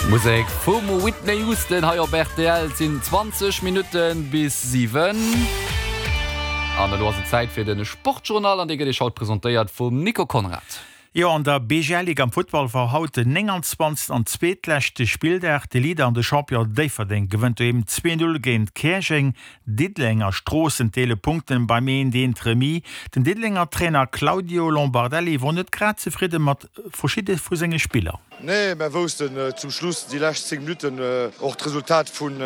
Musek vum Whitney Houston hei op rtl. Et sinn 20 Minutte bis 7. An elo ass et Zäit fir de Sportjournal an dee gëtt Iech haut presentéiert vum Nico Conrad. Jo, an der BGL-Ligue am Futtball war haut den 29. an zweetleschte Spilldag. De Leader an de Champion Déifferdeng gewënnt doheem 2, 0 géint Käerjeng. Diddeleng a Stroossen deele Punkten beim eent eent Remis. Den Diddelenger Trainer Claudio Lombardelli wor net grad zefridde mat verschidde vu senge Spiller. Nee, mär woussten zum Schluss déi lescht 10 Minutten och d'Resultat vun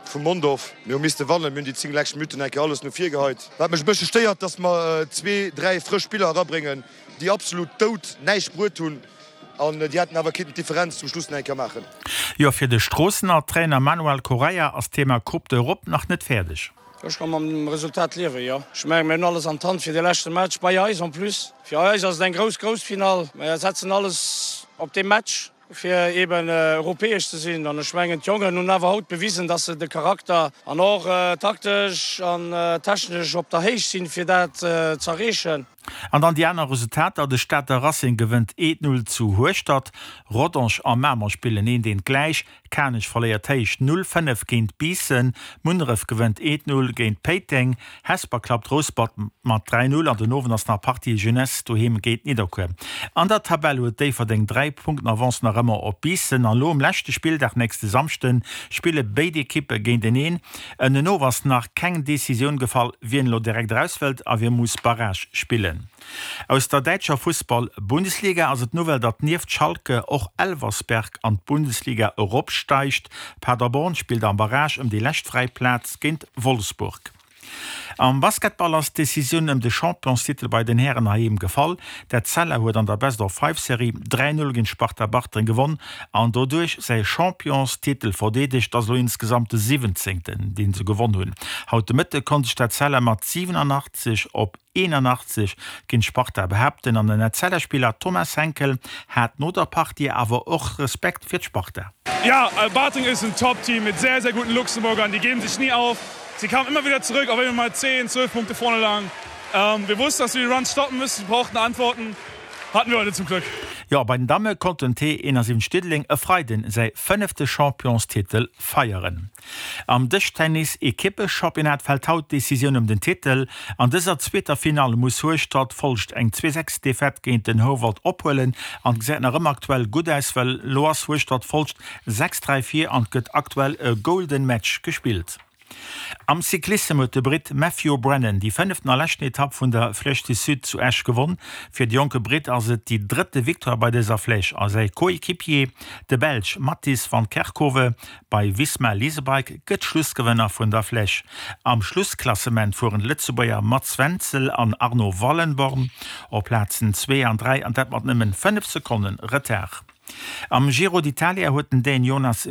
vum Mondorf. Mir hu misste wannen, mir hunn déi 10 lescht Minutten eng Kéier alles no vir geheit. Wat mech e bëssche stéiert, dass mer zwee, dräi frësch Spiller erabréngen, déi absolut dout näischt bruet hunn an déi hätten awer kinnten d'Differenz zum Schluss nach eng Kéier maachen. Jo, fir de Stroossener Trainer Manuel Correia ass d'Thema Coupe d'Europe nach net fäerdeg. Ech ka mam Resultat liewen, jo. Ech mengen, mir hunn alles an d'Hand fir de leschte Match bei eis en plus. Fir eis ass et eng grouss, grouss Finall. Mir setzen alles op dee Match, fir eeben europäesch ze sinn. An ech mengen, d'Jongen hunn awer haut bewisen, dass se de Charakter an och taktesch an technesch op der Héicht sinn, fir dat z'erreechen. An dann déi aner Resultater, De Stater Racing gewënnt 1, 0 zu Hueschtert, Rodange a Mamer spillen 1, 1 gläich, Kanech verléiert héich 0, 5 géint Biissen, Munneref gewënnt 1, 0 géint Péiteng, Hesper klappt Rouspert mat 3, 0 an den Owend ass nach Partie Jeunesse doheem géint Nidderkuer. An der Tabell huet Déifferdeng 3 Punkten Avance nach ëmmer op Biissen an elo um leschte Spilldag nächste Samschde spille béid Ekippe géinteneen. Ënnenof ass nach keng Decisioun gefall, wien elo direkt eraus wëllt a wie muss Barrage spillen. Aus der däitscher Fussball-Bundesliga ass et d'Nouvelle, datt nieft Schalke och Elversberg an d'Bundesliga eropsteigt. Paderborn spillt am Barrage ëm déi lescht fräi Plaz géint Wolfsburg. Am Basketball ass d'Decisioun ëm de Championstitel bei den Hären heiheem gefall. D'Etzella huet an der Best-of-Five-Serie 3, 0 géint Sparta Bartreng gewonn an doduerch säi Championstitel verdeedegt. Ass elo insgesamt de siwwenzéngten, deen se gewonn hunn. Haut de Mëtte konnt sech d'Etzella mat 87 op 81 géint Sparta behaapten an den Etzella-Spiller Thomas Henkel hat no der Partie awer och Respekt fir d'Sparta. Ja, Bartreng ist ein Top-Team mit sehr, sehr guten Luxemburgern, die geben sich nie auf. Sie kamen immer wieder zurück, auch wenn wir mal 10, 12 Punkte vorne lagen. Wir wussten, dass wir die Runs stoppen müssen, brauchten Antworten, hatten wir heute zum Glück. Jo, bei den Damme konnt den T71 Diddeleng e Freiden säi fënnefte Championstitel feieren. Am Dëschtennis-Ekippe-Championnat fält haut d'Decisioun ëm den Titel. An dëser zweeter Finall muss Hueschtert Folscht eng 2, 6 Defaite géint den Houwald ophuelen an gesäit nach ëmmer aktuell gutt aus, well elo ass Hueschtert Folscht 6, 3 vir an et gëtt aktuell e Golden Match gespillt. Am Cyclissem huet de Britt Matthew Brennan déi fënneften a leschten Etapp vun der Flèche du Sud zu Esch gewonn. Fir de jonke Britt ass et déi drëtte Victoire bei dëser Flèche a säi Coéquipier, de Belsch Mattis van Kerkhove bei Visma Leasebike, gëtt Schlussgewënner vun der Flèche. Am Schlussklassement fueren d'Lëtzebuerger Mats Wenzel an Arno Wallenborn op Plazen zwee an 3 an dat mat nëmmen 5 Sekonnen Retard. Am Giro d'Italia huet den Dän Jonas.